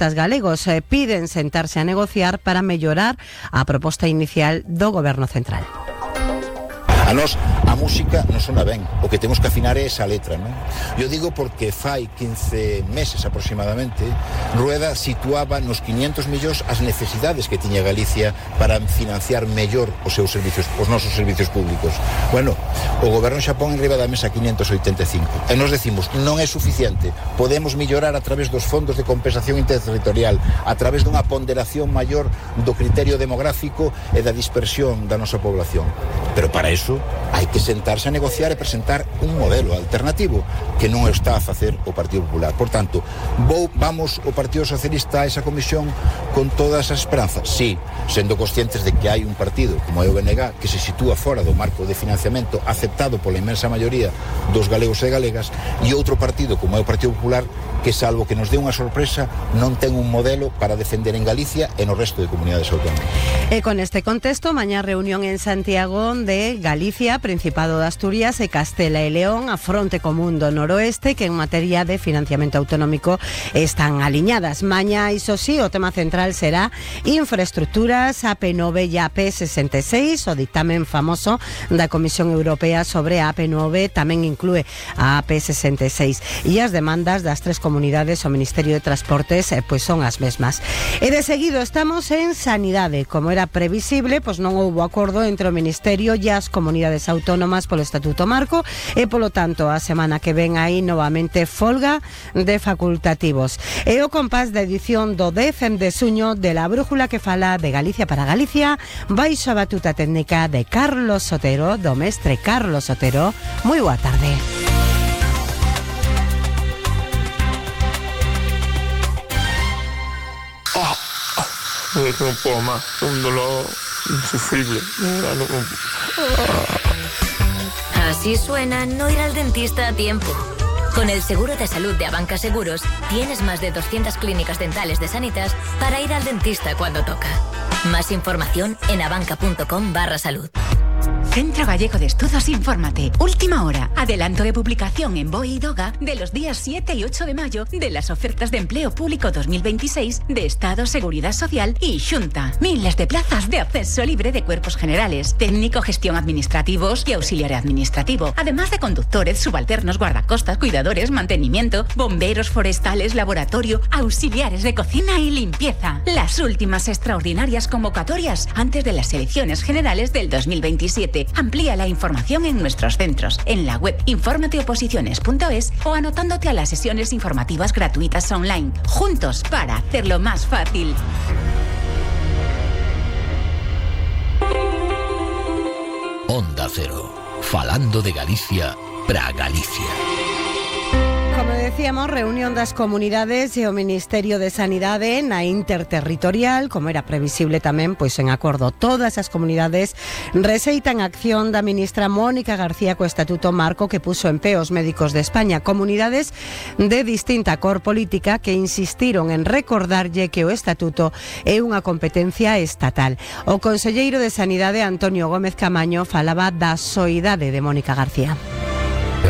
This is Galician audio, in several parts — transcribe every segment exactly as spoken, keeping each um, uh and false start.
Os galegos eh, piden sentarse a negociar para mellorar a proposta inicial do Goberno Central. A nós a música non sona ben, o que temos que afinar é esa letra, non? Eu digo porque fai quince meses aproximadamente Rueda situaba nos quinientos millóns as necesidades que tiña Galicia para financiar mellor os seus servicios, os nosos servicios públicos. Bueno, o Goberno xa pon en riba da mesa quinientos oitenta e cinco e nos decimos non é suficiente, podemos mellorar a través dos fondos de compensación interterritorial, a través dunha ponderación maior do criterio demográfico e da dispersión da nosa población, pero para eso hai que sentarse a negociar e presentar un modelo alternativo que non está a facer o Partido Popular. Por tanto, vou, vamos o Partido Socialista a esa comisión con todas as esperanzas? Sí, sendo conscientes de que hai un partido como é o B N G que se sitúa fora do marco de financiamento aceptado pola inmensa maioría dos galegos e galegas e outro partido como é o Partido Popular que, salvo que nos dé unha sorpresa, non ten un modelo para defender en Galicia e no resto de comunidades autónomas. E con este contexto, mañá reunión en Santiago de Galicia, Principado de Asturias e Castela e León, a fronte común do noroeste, que en materia de financiamento autonómico están aliñadas. Mañá, iso sí, o tema central será infraestructuras, A P nove e A P sesenta e seis, o dictamen famoso da Comisión Europea sobre a A P nove tamén inclúe a A P sesenta e seis e as demandas das tres comunidades ao Ministerio de Transportes eh, pois son as mesmas. E de seguido estamos en Sanidade. Como era previsible, pois non houbo acordo entre o Ministerio e as comunidades autónomas polo Estatuto Marco e, polo tanto, a semana que ven aí novamente folga de facultativos. E o compás da edición do dez de suño de la brújula que fala de Galicia para Galicia baixo a batuta técnica de Carlos Sotero, do mestre Carlos Sotero. Moi boa tarde. No puedo más, un dolor insufrible. Así suena no ir al dentista a tiempo. Con el seguro de salud de Abanca Seguros, tienes más de doscientas clínicas dentales de Sanitas para ir al dentista cuando toca. Más información en abanca.com barra salud. Centro Gallego de Estudos Infórmate. Última hora. Adelanto de publicación en BOE y DOGA de los días siete y ocho de mayo de las ofertas de empleo público dos mil veintiséis de Estado, Seguridad Social y Xunta. Miles de plazas de acceso libre de cuerpos generales, técnico, gestión administrativos y auxiliar administrativo, además de conductores, subalternos, guardacostas, cuidadores, mantenimiento, bomberos forestales, laboratorio, auxiliares de cocina y limpieza. Las últimas extraordinarias convocatorias antes de las elecciones generales del dos mil veintisiete. Amplía la información en nuestros centros, en la web informateoposiciones punto es o anotándote a las sesiones informativas gratuitas online. Juntos para hacerlo más fácil. Onda Cero, falando de Galicia para Galicia. Como decíamos, reunión das comunidades e o Ministerio de Sanidade na interterritorial, como era previsible tamén, pois en acordo todas as comunidades rexeitan a acción da ministra Mónica García co Estatuto Marco que puso en pé os médicos de España. Comunidades de distinta cor política que insistiron en recordarlle que o Estatuto é unha competencia estatal. O conselleiro de Sanidade, Antonio Gómez Camaño, falaba da soidade de Mónica García.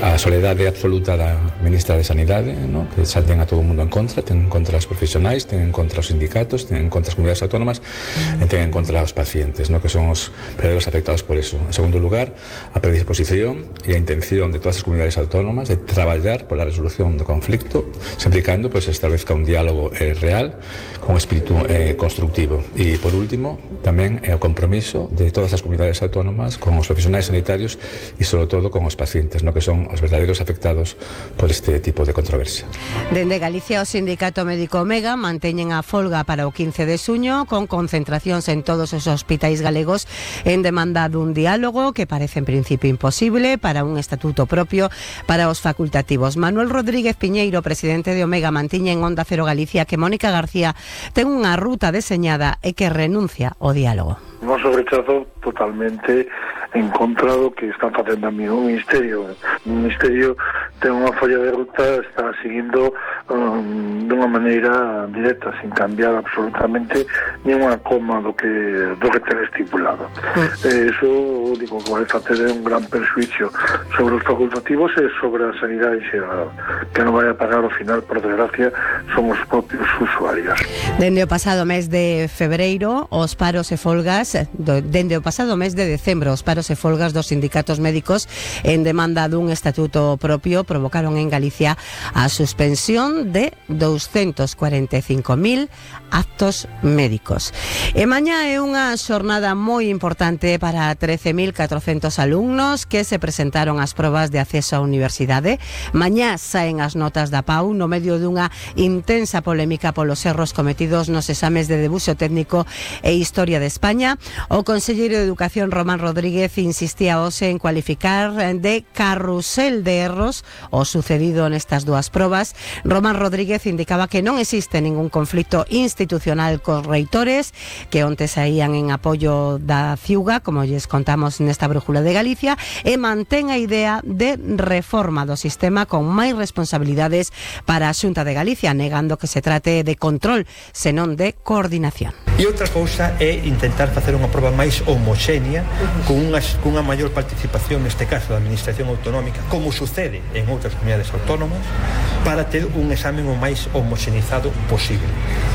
A soledade absoluta da ministra de Sanidade, ¿no? Que xa ten a todo o mundo en contra, ten en contra os profesionais, ten en contra os sindicatos, ten en contra as comunidades autónomas mm. e ten en contra os pacientes, ¿no? Que son os verdadeiros afectados por eso. En segundo lugar, a predisposición e a intención de todas as comunidades autónomas de traballar pola resolución do conflicto, sempre e cando pues, establezca un diálogo eh, real con espírito eh, constructivo. E, por último, tamén é o compromiso de todas as comunidades autónomas con os profesionais sanitarios e, sobre todo, con os pacientes, ¿no? Que son os verdadeiros afectados por este tipo de controversia. Dende Galicia, o Sindicato Médico Omega manteñen a folga para o quince de suño con concentracións en todos os hospitais galegos en demanda dun diálogo que parece en principio imposible para un estatuto propio para os facultativos. Manuel Rodríguez Piñeiro, presidente de Omega, mantiña en Onda Cero Galicia que Mónica García ten unha ruta deseñada e que renuncia ao diálogo. Hemos rechazado totalmente en contra do que están facendo a mí o Ministerio. O Ministerio ten unha folla de ruta, está seguindo um, dunha maneira directa, sin cambiar absolutamente ni unha coma do que do que ten estipulado. Mm. Eh, eso, digo, que vai facer un gran perjuicio sobre os facultativos e sobre a sanidade xeral, que non vai a pagar ao final, por desgracia, son os propios usuarios. Dende o pasado mes de febreiro, os paros e folgas, do, dende o pasado mes de decembro, os paros e folgas dos sindicatos médicos en demanda dun estatuto propio provocaron en Galicia a suspensión de doscientos cuarenta e cinco mil actos médicos. E mañá é unha xornada moi importante para trece mil catrocentos alumnos que se presentaron ás probas de acceso á universidade. Mañá saen as notas da P A U no medio dunha intensa polémica polos erros cometidos nos exames de debuxo técnico e Historia de España. O conselleiro de Educación, Román Rodríguez, insistía hoxe en cualificar de carrusel de erros o sucedido nestas dúas probas. Román Rodríguez indicaba que non existe ningún conflito institucional cos reitores, que onte saían en apoio da Ciuga, como lles contamos nesta brújula de Galicia, e mantén a idea de reforma do sistema con máis responsabilidades para a Xunta de Galicia, negando que se trate de control, senón de coordinación. E outra cousa é intentar facer unha proba máis homoxénea, con unha, con unha maior participación, neste caso da Administración Autonómica, como sucede en outras comunidades autónomas, para ter un examen o máis homoxenizado posible.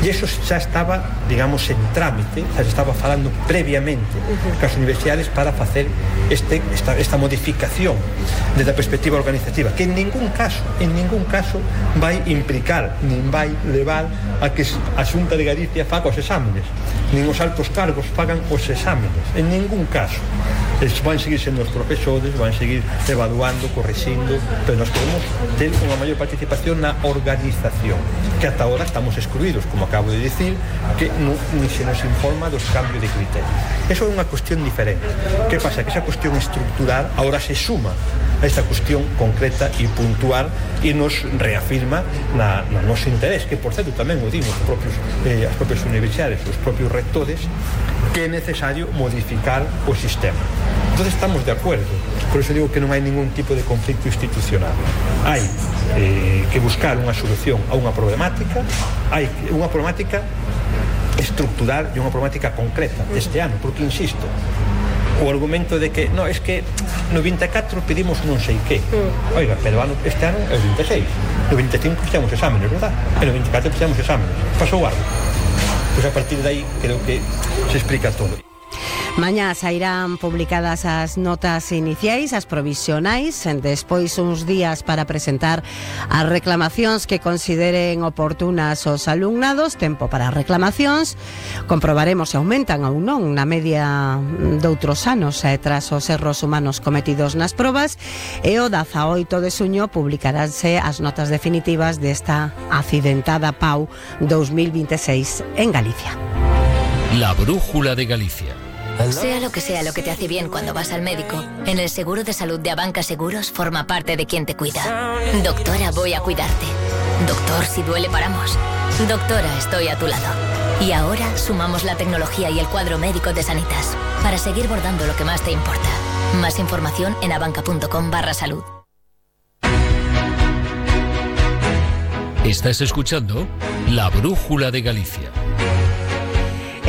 E iso xa estaba, digamos, en trámite, xa se estaba falando previamente cas universidades para facer este, esta, esta modificación desde a perspectiva organizativa, que en ningún caso, en ningún caso vai implicar, nin vai levar a que a Xunta de Galicia faga os exámenes, nin os altos cargos fagan os exámenes, en ningún caso. Eles van seguir sendo os profesores, van seguir evaluando, corrixindo, pero nós queremos ter unha maior participación na organización, que ata ahora estamos excluídos, como acabo de dicir, que non, ni se nos informa dos cambios de criterio. Eso é unha cuestión diferente. Que pasa? Que esa cuestión estructural ahora se suma a esta cuestión concreta e puntual e nos reafirma na, na noso interés, que por certo tamén o dimos os propios, eh, as propias universidades, os propios rectores, que é necesario modificar o sistema. Entonces estamos de acuerdo, por eso digo que non hai ningún tipo de conflicto institucional. Hai eh, que buscar unha solución a unha problemática, hai unha problemática estructural e unha problemática concreta este ano, porque insisto, o argumento de que, no, es que no vinte e catro pedimos non sei que. Oiga, pero ano, este ano é o vinte e seis. No vinte e cinco fixemos exámenes, verdad? E no vinte e catro fixemos exámenes. Pasou algo. Pois a partir de aí creo que se explica todo. Mañá sairán publicadas as notas iniciais, as provisionais, despois uns días para presentar as reclamacións que consideren oportunas os alumnados, tempo para as reclamacións, comprobaremos se aumentan ou non na media doutros anos eh, tras os erros humanos cometidos nas probas, e o dezaoito de xuño publicaránse as notas definitivas desta accidentada P A U dos mil vinte e seis en Galicia. La brújula de Galicia. Sea lo que sea lo que te hace bien cuando vas al médico, en el seguro de salud de Abanca Seguros forma parte de quien te cuida. Doctora, voy a cuidarte. Doctor, si duele paramos. Doctora, estoy a tu lado. Y ahora sumamos la tecnología y el cuadro médico de Sanitas para seguir bordando lo que más te importa. Más información en abanca.com barra salud. Estás escuchando La Brújula de Galicia.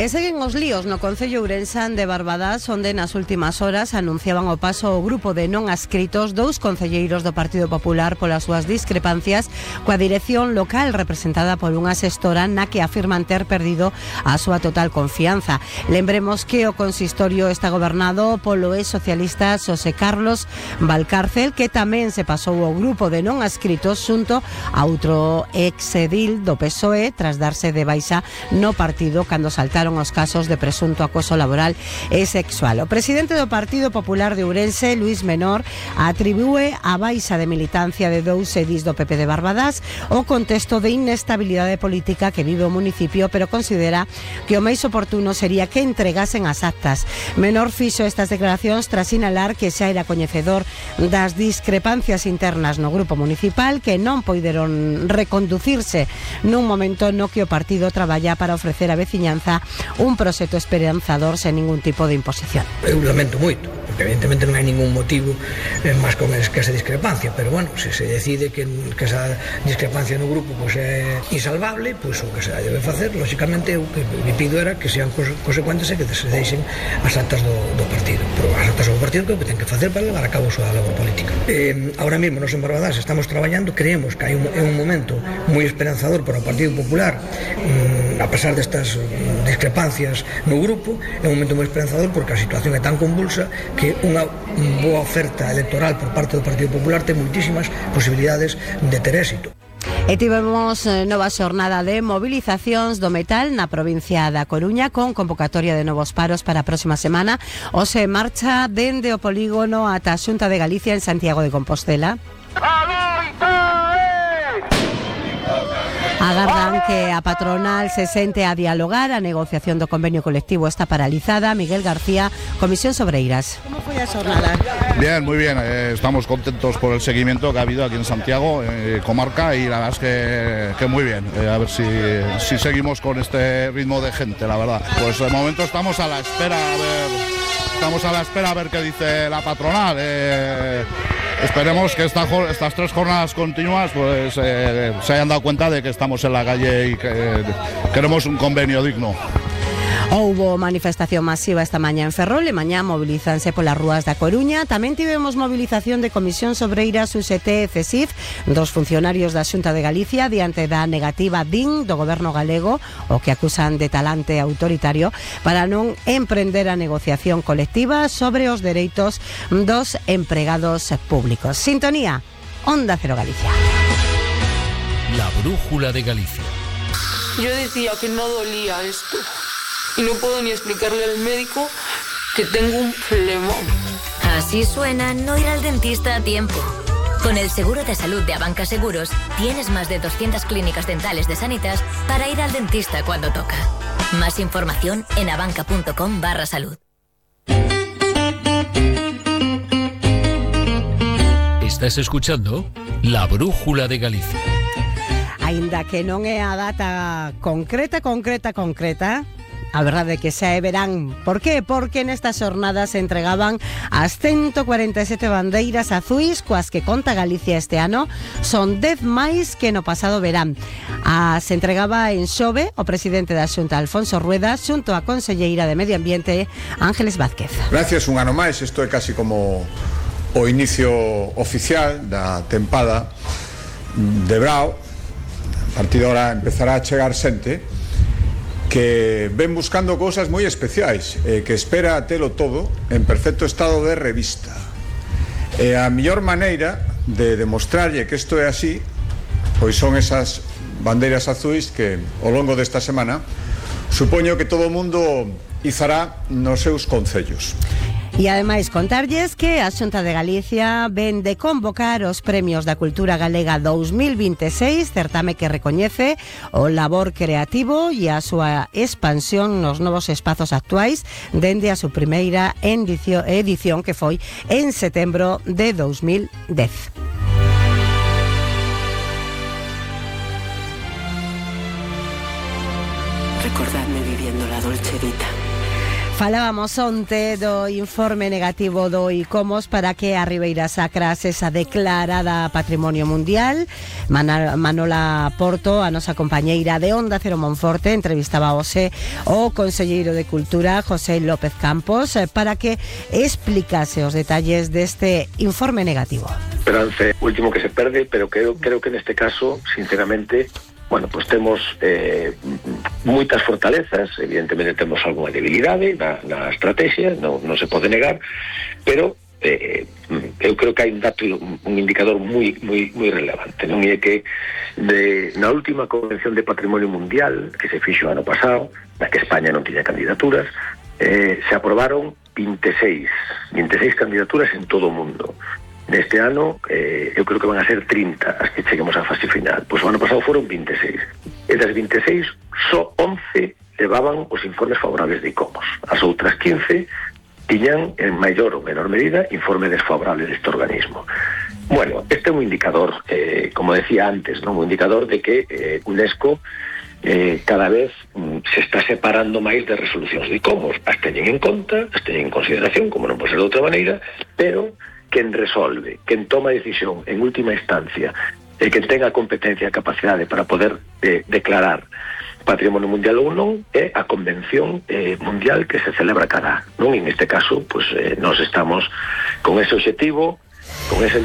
E seguen os líos no Concello Ourensán de Barbadás, onde nas últimas horas anunciaban o paso o grupo de non adscritos dous concelleiros do Partido Popular polas súas discrepancias coa dirección local representada por unha xestora na que afirman ter perdido a súa total confianza. Lembremos que o consistorio está gobernado polo ex socialista Xosé Carlos Valcárcel, que tamén se pasou ao grupo de non adscritos xunto a outro ex edil do P S O E tras darse de baixa no partido cando saltaron os casos de presunto acoso laboral e sexual. O presidente do Partido Popular de Ourense, Luís Menor, atribúe a baixa de militancia de dous edís do P P de Barbadás o contexto de inestabilidade política que vive o municipio, pero considera que o máis oportuno sería que entregasen as actas. Menor fixo estas declaracións tras sinalar que xa era coñecedor das discrepancias internas no grupo municipal que non poideron reconducirse nun momento no que o partido traballa para ofrecer á veciñanza un proxecto esperanzador sen ningún tipo de imposición. Eu lamento moito, Evidentemente non hai ningún motivo eh, máis con es, que esa discrepancia, pero bueno, se se decide que, que esa discrepancia no grupo pues, é insalvable, pois pues, o que se debe facer, lógicamente o que me pido era que sean cos, consecuentes e que se deixen as actas do, do partido, pero as actas do partido que ten que facer para levar a cabo a súa labor política. Eh, ahora mesmo nos en Barbadás estamos traballando, creemos que hai un, é un momento moi esperanzador para o Partido Popular, mm, a pesar destas mm, discrepancias no grupo, é un momento moi esperanzador porque a situación é tan convulsa que unha boa oferta electoral por parte do Partido Popular ten moitísimas posibilidades de ter éxito. E tivemos nova xornada de movilizacións do metal na provincia da Coruña con convocatoria de novos paros para a próxima semana. Hoxe marcha dende o polígono ata a Xunta de Galicia en Santiago de Compostela. Agardan que a patronal se sente a dialogar. A negociación do convenio colectivo está paralizada. Miguel García, Comisión Sobreiras. ¿Cómo fue la jornada? Bien, muy bien. Eh, estamos contentos por el seguimiento que ha habido aquí en Santiago, eh, comarca, y la verdad es que, que muy bien. Eh, a ver si, si seguimos con este ritmo de gente, la verdad. Pues de momento estamos a la espera a ver, estamos a la espera a ver qué dice la patronal. Eh, Esperemos que esta, estas tres jornadas continuas pues eh, se hayan dado cuenta de que estamos en la calle y que eh, queremos un convenio digno. Houbo manifestación masiva esta mañá en Ferrol e mañá movilizanse polas rúas da Coruña. Tamén tivemos movilización de Comisión Sobreiras, U S T e C S I F, dos funcionarios da Xunta de Galicia diante da negativa D I N do goberno galego, o que acusan de talante autoritario, para non emprender a negociación colectiva sobre os dereitos dos empregados públicos. Sintonía, Onda Cero Galicia. La brújula de Galicia. Yo decía que no dolía esto. Y no puedo ni explicarle al médico que tengo un flemón. Así suena no ir al dentista a tiempo. Con el seguro de salud de Abanca Seguros, tienes más de doscientas clínicas dentales de Sanitas para ir al dentista cuando toca. Más información en abanca.com barra salud. Estás escuchando La Brújula de Galicia. Aínda que non é a data concreta, concreta, concreta, a verdade é que xa é verán. Por qué? Porque nestas xornadas se entregaban as ciento cuarenta e sete bandeiras azuis coas que conta Galicia este ano. Son dez máis que no pasado verán. A, se entregaba en Xove o presidente da Xunta, Alfonso Rueda, xunto a conselleira de Medio Ambiente, Ángeles Vázquez. Gracias un ano máis, isto é casi como o inicio oficial da tempada de Brao. A partir de ahora empezará a chegar xente que ven buscando cousas moi especiais e que espera a telo todo en perfecto estado de revista. E a mellor maneira de demostrarlle que isto é así pois son esas bandeiras azuis que ao longo desta semana supoño que todo o mundo izará nos seus concellos. E ademais contarlles que a Xunta de Galicia ven de convocar os Premios da Cultura Galega dous mil vinte e seis, certame que recoñece o labor creativo e a súa expansión nos novos espazos actuais dende a súa primeira edición, edición que foi en setembro de dous mil dez. Recordadme viviendo la Dolce Vita. Falábamos onte do informe negativo do ICOMOS para que a Ribeira Sacra sexa declarada Patrimonio Mundial. Manola Porto, a nosa compañeira de Onda Cero Monforte, entrevistaba hoxe o conselleiro de Cultura, José López Campos, para que explicase os detalles deste informe negativo. Esperanza, último que se perde, pero creo, creo que neste caso, sinceramente, bueno, pues temos eh, moitas fortalezas, evidentemente temos algunha debilidade na, na estrategia, non, non se pode negar, pero eh, eu creo que hai un dato, un indicador moi moi moi relevante, non é que de, na última Convención de Patrimonio Mundial que se fixo ano pasado, na que España non tiña candidaturas, eh, se aprobaron vinte e seis candidaturas en todo o mundo. Neste ano, eh, eu creo que van a ser trinta as que cheguemos á fase final. Pois o ano pasado foron vinte e seis. E das vinte e seis, só once levaban os informes favorables de ICOMOS. As outras quince tiñan, en maior ou menor medida, informe desfavorable deste organismo. Bueno, este é un indicador, eh, como decía antes, non un indicador de que eh, UNESCO eh, cada vez mm, se está separando máis de resolucións de ICOMOS. As teñen en conta, as teñen en consideración, como non pode ser de outra maneira, pero quen resolve, quen toma decisión en última instancia, e quen tenga a competencia e a capacidade para poder eh, declarar patrimonio mundial ou non é a convención eh, mundial que se celebra cada ano. En este caso, pues, eh, nos estamos con ese objetivo, con ese...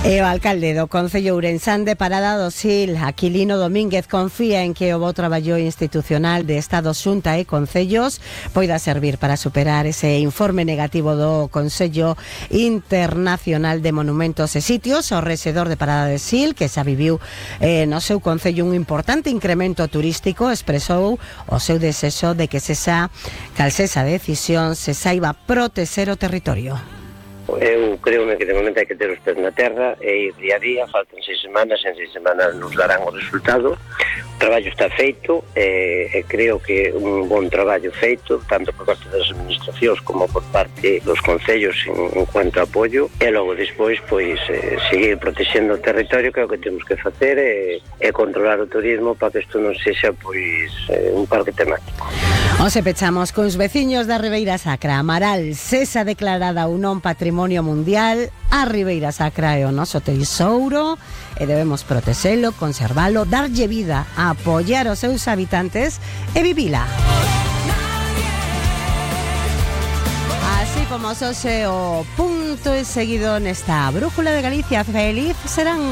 E o alcalde do Concello Ourensán de Parada do Sil, Aquilino Domínguez, confía en que o bo traballo institucional de Estado, Xunta e Concellos poida servir para superar ese informe negativo do Consello Internacional de Monumentos e Sitios. O rexedor de Parada do Sil, que xa viviu eh, no seu concello un importante incremento turístico, expresou o seu desexo de que sexa, cal sexa decisión, se saiba protexer o territorio. Eu creo que de momento hai que ter os pés na terra e ir día a día. Faltan seis semanas, en seis semanas nos darán o resultado. O traballo está feito e, e creo que un bon traballo feito tanto por parte das administracións como por parte dos concellos en, en cuanto a apoio, e logo despois pois eh, seguir protexendo o territorio, que é o que temos que facer, e, e controlar o turismo para que isto non sexa pois eh, un parque temático. Onse pechamos cos veciños da Ribeira Sacra. Amaral sexa declarada ou non patrimonio mundial. A Ribeira Sacra é o noso tesouro e debemos protexelo, conservalo, darlle vida, apoiar os seus habitantes e vivila. Así como hoxe o punto e seguido nesta Brújula de Galicia. Feliz serán.